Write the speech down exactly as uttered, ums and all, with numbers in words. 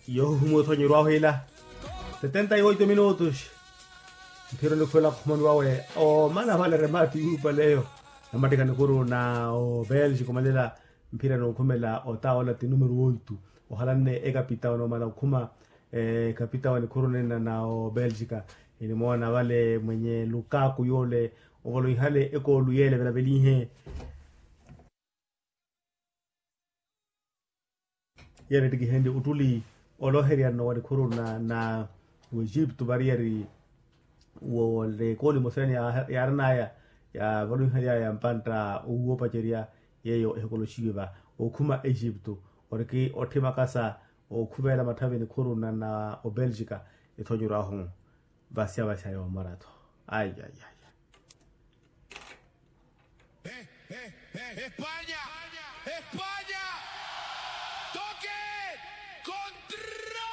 Yoohuma othonyeryo ahu ila setenta y oito minutos. Mphira onikhwela khumoni wawe omana vale remati yuupaleyo namattikha nikhuru na obelgica omalela. Mphira nookhumela otawola ti numero oito ohalanne ekapitawo noomala okhuma ekapitawo nikhuru nenna na obelgica. Enimoona vale mwenye lukaaku yoole ovolonhale ekoolu yeele velavelinhe. Yeene ettikihenrye ottuli olooherya nno wa nikhuru na na w'egipto variyari woole ekooli emosa yaani yaaran'aya yaavalonhary'aya mpantta owoopacerya. Yeeyo ehikoloxiwe va okhuma egipto oriki otthimakasa okhuvela matthavi nikhuru na na obelgica. Ethonyeryo ahu vasya vasya yoomoratho. Ayi ayi ayi. España. España. Toke. Contra.